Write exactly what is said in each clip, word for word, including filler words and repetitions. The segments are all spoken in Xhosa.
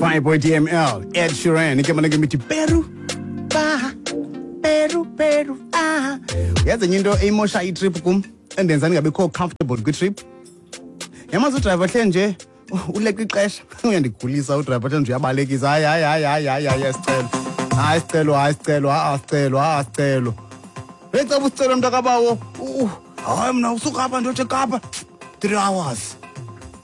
Fireboy D M L, Ed Sheeran, igama lakhe mithi Peru, ba, Peru, Peru, ah. Yazi enye into eyimosha itrip kum, endenza ndingabikho comfortable kwitrip. Yamazi udrayiva hle nje, uleqa ixesha, uyandigulisa udrayiva hle nje uyabalekisa. Hayi, hayi, hayi, hayi, hayi, hayi, sicelo. Hayi, sicelo, hayi, sicelo, hayi, sicelo, hayi, sicelo. Becaba usicelo mntakabawo. Hayi, mna usuka apha ndotshe Kapa. Three hours.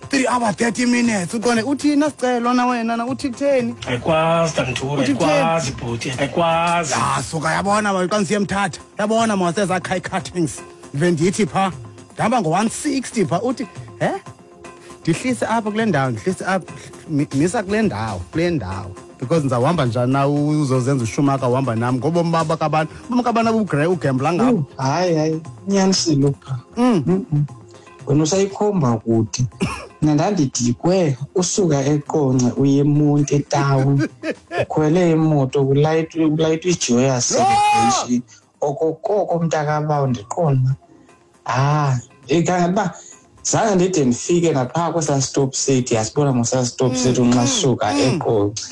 Three hours, thirty minutes. Uqonde uthini sicelo na wena na uthi kutheni? Ayikwazi Tanthura, ayikwazi bhuti, ayikwazi. Ah, suka yabona ba xa ndisiye Mthatha. Yabona mawaseza Kai Cuttings. Ndive ndithi pha. Ndihamba ngo one sixty pha uthi, he? Ndihlise apha kule ndawo, ndihlise apha, misa kule ndawo, kule ndawo. Because ndizawuhamba njani na uzozenza uSchumacher uhamba nam ngobomi baba kabantu, bomi kabantu abugrey ugembla ngabo. Hayi hayi, unyanisile pha. Mm. Wena usayikhomba kude. Mna ndandidikwe usuka eQonce uye eMonti etown. Ukhwele imoto kulayitwa kulayitwa iJoyous Celebration. Okokoko mntakabawo ndiqonda. Ah, ikanti zange ndide ndifike naphaa kwesaa stop city, yasibona ngosaa stop city nxa suka eQonce.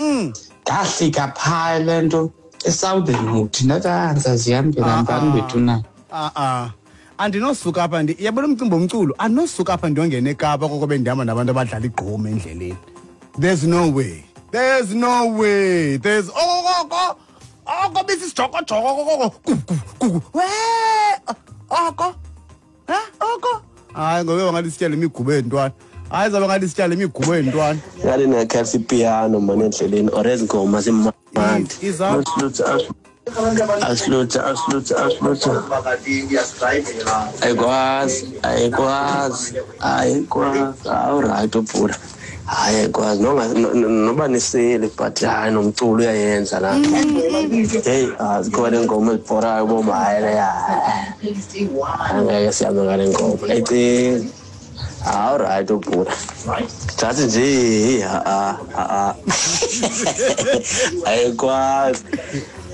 Ndahlika phaa le nto eSouthern Wood, ndathi ah ndizazihambela mbani bethu na. Ah ah. Andinosuka apha ndi yabona umcimbi womculo, andinosuka apha ndiyongena eKapa koko bendihamba nabantu abadlala igqom endleleni. There's no way. There's no way. There's okoko. Oko bisisijokojoko koko. Kuku. We oko. Ha oko. Hayi ngoba ngathi sityale imigubo yentwana. Hayi zabe ngathi sityale imigubo yentwana. Ngathi ngakhathi piano man endleleni or ezingoma zimandi. Asilutha, asilutha, asilutha. Ayikwazi, ayikwazi, ayikwazi. Awuright ubhula. Hayi ayikwazi noba nisele but hayi nomculo uyayenza la. Hey, azikhona ingoma ezibhorayo boma hayi leya. Angeke sihambe ngale ngoma. Ecinga. Awuright ubhula. Thathi nje ha ha. Ayikwazi.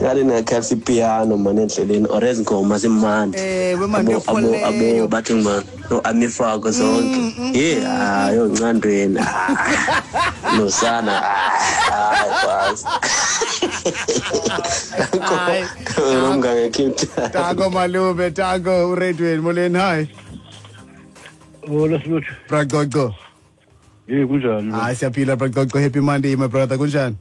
Ngathi ngakhathi piano man endleleni or ezingoma zimandi. Ewe manje abo abo bathi man no amifako zonke. Hey hayi oncandweni. Nosana. Hayi kwazi. Hayi. Nomngane Cape. Tango malume, tango uredweni moleni hi. Hola Siluthu. Bragogo. Hey kunjani? Hayi siyaphila Bragogo, happy Monday my brother, kunjani?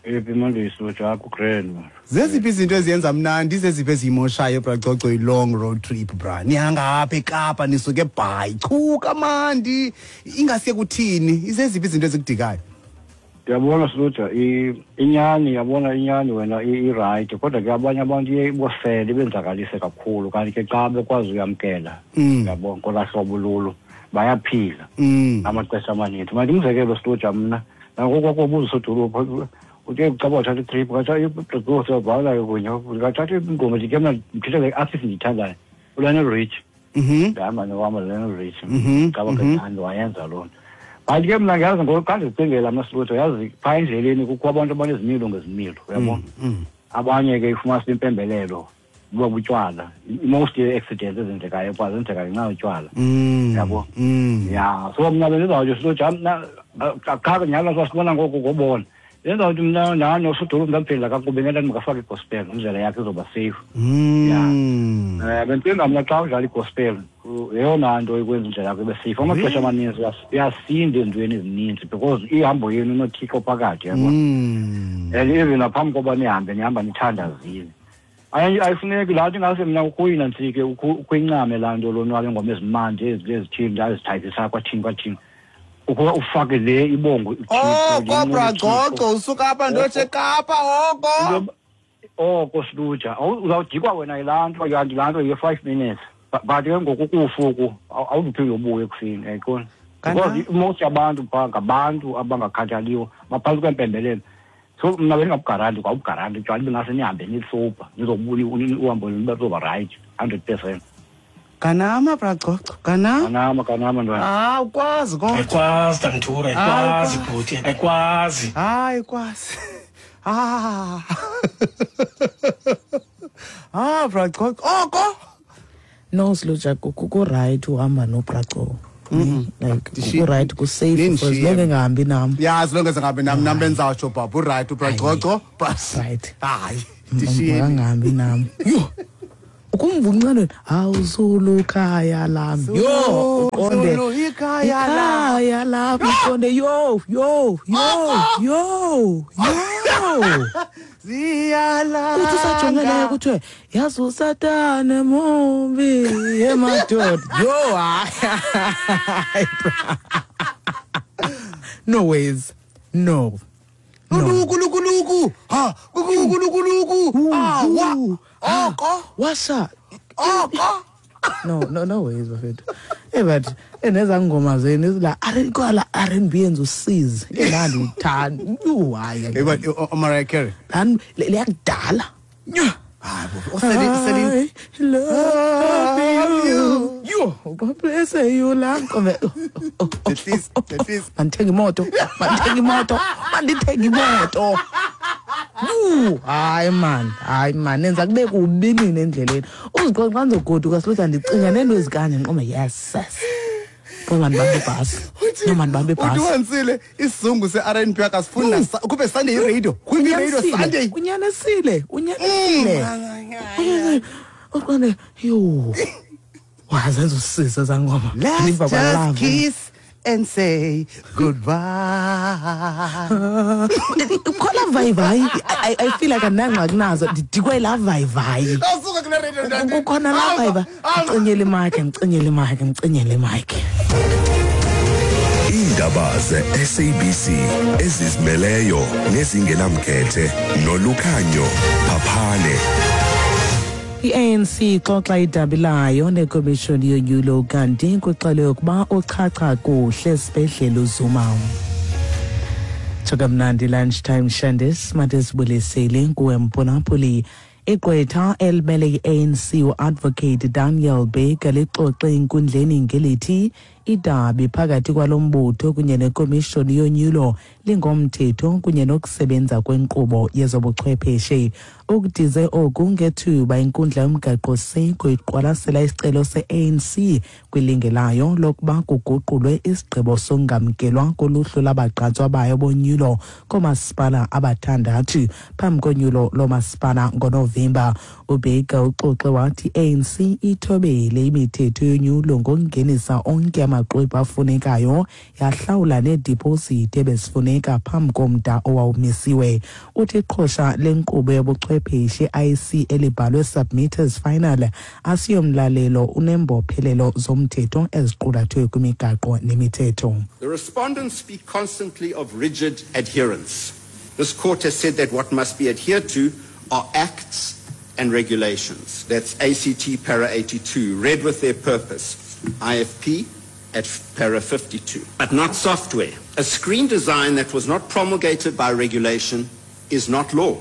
Happy Monday Siluthu, akho grand man. Zeziphi izinto eziyenza mnandi, zeziphi ezimoshayo Bragogo i-long road trip bra? Nihanga apha eKapa nisuke eBhayi, chuka mandi, ingasiye kuthini? Izeziphi izinto ezikudikayo? Ndiyabona Siluthu, inyani yabona inyani wena i-right, kodwa ke abanye abantu iye ibosele ibenzakalise kakhulu kanti ke xa bekwazi uyamkela yabona ngolaa hlobo lulo bayaphila amaxesha amaninzi. Manje umzekelo Siluthu mna nangoku kwakubuza usodolophu uthe ucaba wathatha itrip kathatha ibhala kunye kathatha ingoma nje ke mna ndithetha le artist ndiyithandayo uLionel Richie. Ndihamba nohamba noLionel Richie caba ke ndithanda wayenza loo nto. But ke mna ngiyazi ngoku xa ndizicingela mna Siluthu yazi phaa endleleni kukho abantu abanezimilo ngezimilo uyabona. Abanye ke ifumanisa impembelelo buba butywala. Most ye-accidents ezenzekayo phaa zenzeka ngenxa yotywala uyabo. Ya so mna bendizawutsho Siluthu mna qha nyhani sasibona ngoku ngobona. Yenza ukuthi mna nani osodolophu ndamphendula kakubi ngento ndingafaka igospel indlela yakhe izoba safe. Ya eh bendicinga mna xa udlala igospel yeyona nto ikwenza indlela yakho ibe safe. Amaxesha amaninzi uyasinda ezintweni ezininzi because ihambo yenu inoThixo phakathi yabo. And even naphambi koba nihambe nihamba nithandazile. Ayifuneki laa nto ingase mna ukuyina ntsike ukuyincame laa nto lonwabo ingoma ezimandi ezithile ndazithayipisa kwathini kwathini. Ukuba ufake le ibongo oko Bragogo usuka apha ndotshe eKapa oko oko Siluthu uzawujikwa wena yilaa nto kanti laa nto ye-five minutes but ke ngoku kufuku awuzuphinde ubuye ekuseni ayiqona because most yabantu phaa ngabantu abangakhathaliyo baphantsi kwempembelelo. So mna bendingabugaranti kwa ubugaranti utywala ibingase nihambe nisopa nizobuya uhambo luzoba right hundred percent. Kanama Bragogo, kanama. Kanama, kanama ntwana. Ah, ukwazi kodwa. Ayikwazi Tanthura, ayikwazi bhuti, ayikwazi. Hayi kwazi. Ah. Ah, Bragogo. Oko. No Siluthu, ku right uhamba noBragogo. Like ku-right, ku-safe for as long engahambi nam. Yeah, as long as engahambi nam, nam benzawutsho baba uright ubracoco but right. Hayi, ndishiyeni. Angahambi nam. Yho. Ukumva uncanweni, awuzulu ikhaya lam. Yho, uqonde. Ikhaya lam. Ikhaya lam, uqonde yo, yo, yo, yo, yo. Ziyalanga. Uthi usajongeleyo kuthiwe yazi usatane mumbi emadoda. Yho, hayi. No ways. No. Luku luku luku. Ha, luku luku luku. Ah, wa. Oko. Washa. Oko. No, no, no ways bafethu. Eh but eneza ngoma zenu izila R and B yenza usizi. Engandithandi. Yho, hayi. Eh but uMariah Carey. Lan leyakudala. Hayi bo. Usele usele love you. Yho, God bless you la. At least, at least. Mandithenga imoto. Mandithenga imoto. Mandithenga imoto. Yho, hayi man, hayi man, nenza kube kubi nini endleleni. Uziqonda xa ndizogoduka silothi ndicinga neento ezikanje ndiqonde yes. Yes. Kodwa mandibambe ibhasi. No mandibambe ibhasi. Uthi wansile isizungu se-R and B akasifuni kube Sunday i-radio. Kube i-radio Sunday. Unyanisile, unyanisile. Uqonde yho. Wazenza usisi ezangoma. Let's just kiss and say goodbye. Ukhola vayivayi. I I feel like andinangxaki nazo. Ndidikwe laa vayivayi. Awusuka kule radio ndandi. Kukhona laa vayivayi. Ndicinyele imayikhi, ndicinyele imayikhi, ndicinyele imayikhi. Iindaba ze-S A B C ezizimeleyo nezingenamkhethe noLukhanyo Phaphane. I-A N C ixoxa idabi layo nekomishoni yonyulo kanti kuxelwe ukuba uchacha kuhle esibhedlele uZuma. Tshokamnandi lunchtime Shandis matesibulisele kuwe Mponapoli. Igqwetha elimele i-A N C u-Advocate Daniel Baker lixoxe enkundleni ngelithi idabi phakathi kwalo mbutho kunye nekomishoni yonyulo lingomthetho kunye nokusebenza kwenkqubo yezobuchwepheshe. Ukudize oku ngethuba inkundla yomgaqo-siseko iqwalasela isicelo se-A N C kwilinge layo lokuba kuguqulwe isigqibo sokungamkelwa koluhlu lwabagqatswa bayo bonyulo koomasipala abathandathu phambi konyulo loomasipala ngoNovemba. UBaker uxoxe wathi i-A N C ithobele imithetho yonyulo ngokungenisa onke amaxwebhu afunekayo yahlawula needipositi ebezifuneka phambi komda owawumisiwe. Uthi iqhosha lenkqubo yobuchwepheshe I C elibhalwe Submitters Final asiyomlalelo unembophelelo zomthetho eziqulathwe kwimigaqo nemithetho. The respondents speak constantly of rigid adherence. This court has said that what must be adhered to are acts and regulations. That's A C T para eighty-two, read with their purpose, I F P at para fifty-two, but not software. A screen design that was not promulgated by regulation is not law.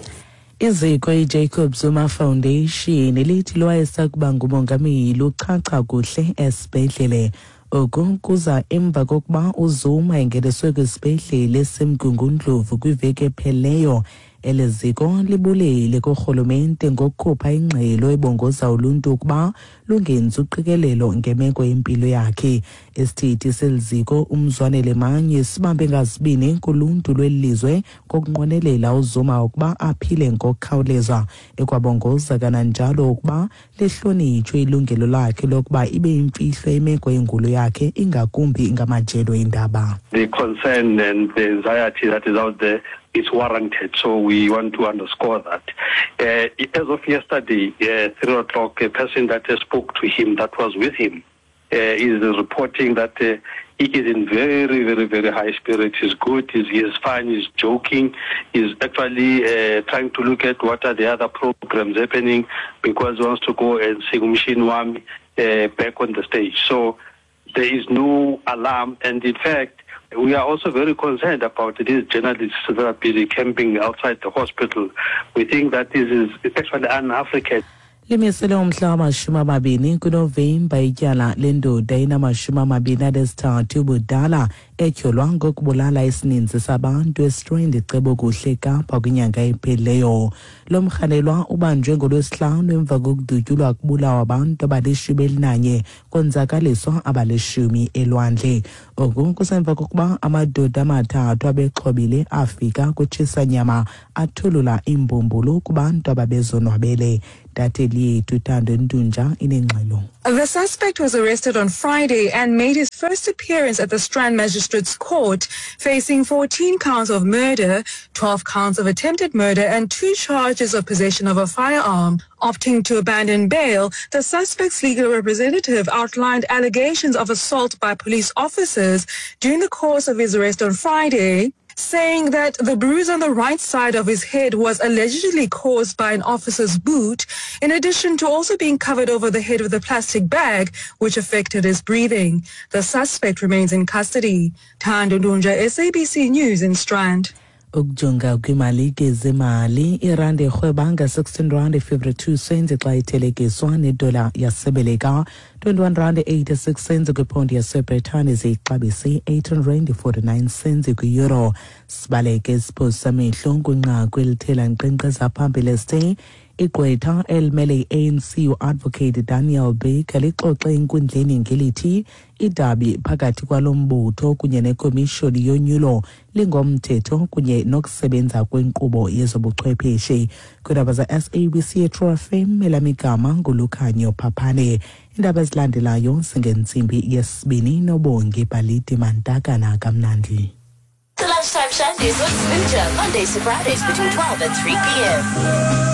Iziko iJacob Zuma Foundation lithi lwayesakuba ngumongameli uchacha kuhle esibhedlele. Oku kuza emva kokuba uZuma engeniswe kwisibhedlele esemgungundlovu kwiveki ephelileyo. Eli ziko libulele kurhulumente ngokukhupha ingxelo ebongoza uluntu ukuba lungenzi uqikelelo ngemeko yempilo yakhe. Isithethi seli ziko uMzwanele Manyi sibambe ngazibini kuluntu lweli lizwe ngokunqwenelela uZuma ukuba aphile ngokukhawuleza, ekwabongoza kananjalo ukuba lihlonitshwe ilungelo lakhe lokuba ibe yimfihlo imeko yengulo yakhe, ingakumbi ngamajelo eendaba. The concern and the anxiety that is out there is warranted, so we want to underscore that. Uh, as of yesterday, uh, three o'clock, a person that uh, spoke to him, that was with him, uh, is reporting that uh, he is in very, very, very high spirits. He's good, he's, he's fine, he's joking, he's actually uh, trying to look at what are the other programs happening, because he wants to go and sing Umshini Wami uh, back on the stage. So there is no alarm, and in fact, we are also very concerned about these journalists that are busy camping outside the hospital. We think that this is actually un-African. Limisele umhla wamashumi amabini kuNovemba ityala lendoda enamashumi amabini anesithathu ubudala etyholwa ngokubulala isininzi sabantu eStrand eCebokuhle Kapa kwinyanga ephelileyo. Lo mrhanelwa ubanjwe ngoLwesihlanu emva kokudutyulwa kubulawa abantu abalishumi elinanye konzakaliswa abalishumi elwandle. Oku kusemva kokuba amadoda amathathu abexhobile afika kutshisa-nyama athulula imbumbulu kubantu ababezonwabele. Intatheli yethu Thando Ntunja inengxelo. The suspect was arrested on Friday and made his first appearance at the Strand Magistrates Court, facing fourteen counts of murder, twelve counts of attempted murder and two charges of possession of a firearm. Opting to abandon bail, the suspect's legal representative outlined allegations of assault by police officers during the course of his arrest on Friday, saying that the bruise on the right side of his head was allegedly caused by an officer's boot, in addition to also being covered over the head with a plastic bag, which affected his breathing. The suspect remains in custody. Thando Ndunja, S A B C News in Strand. Ukujonga kwimali ke zemali, irandi irhweba nga-sixteen rand fifty-two cents xa ithelekiswa nedola yasebeleka, twenty-one rand eighty-six cents kwiphondi yaseBritane, ziyixabise eighteen rand forty-nine cents kwi-euro. Sibaleke isiphoso samehlo kwinqaku elithela nkqenkqeza phambili esithe igqwetha elimele i-A N C u-Advocate Daniel Baker lixoxe enkundleni ngelithi idabi phakathi kwalo mbutho kunye nekomishoni yonyulo lingomthetho kunye nokusebenza kwenkqubo yezobuchwepheshe. Kwiindaba za-S A B C True F M, elamigama nguLukhanyo Phaphane. Iindaba ezilandelayo zingentsimbi yesibini noBongi Baliti Mantakana kamnandi. The Lunchtime Shandies with Smooja, Mondays to Fridays between twelve and three p m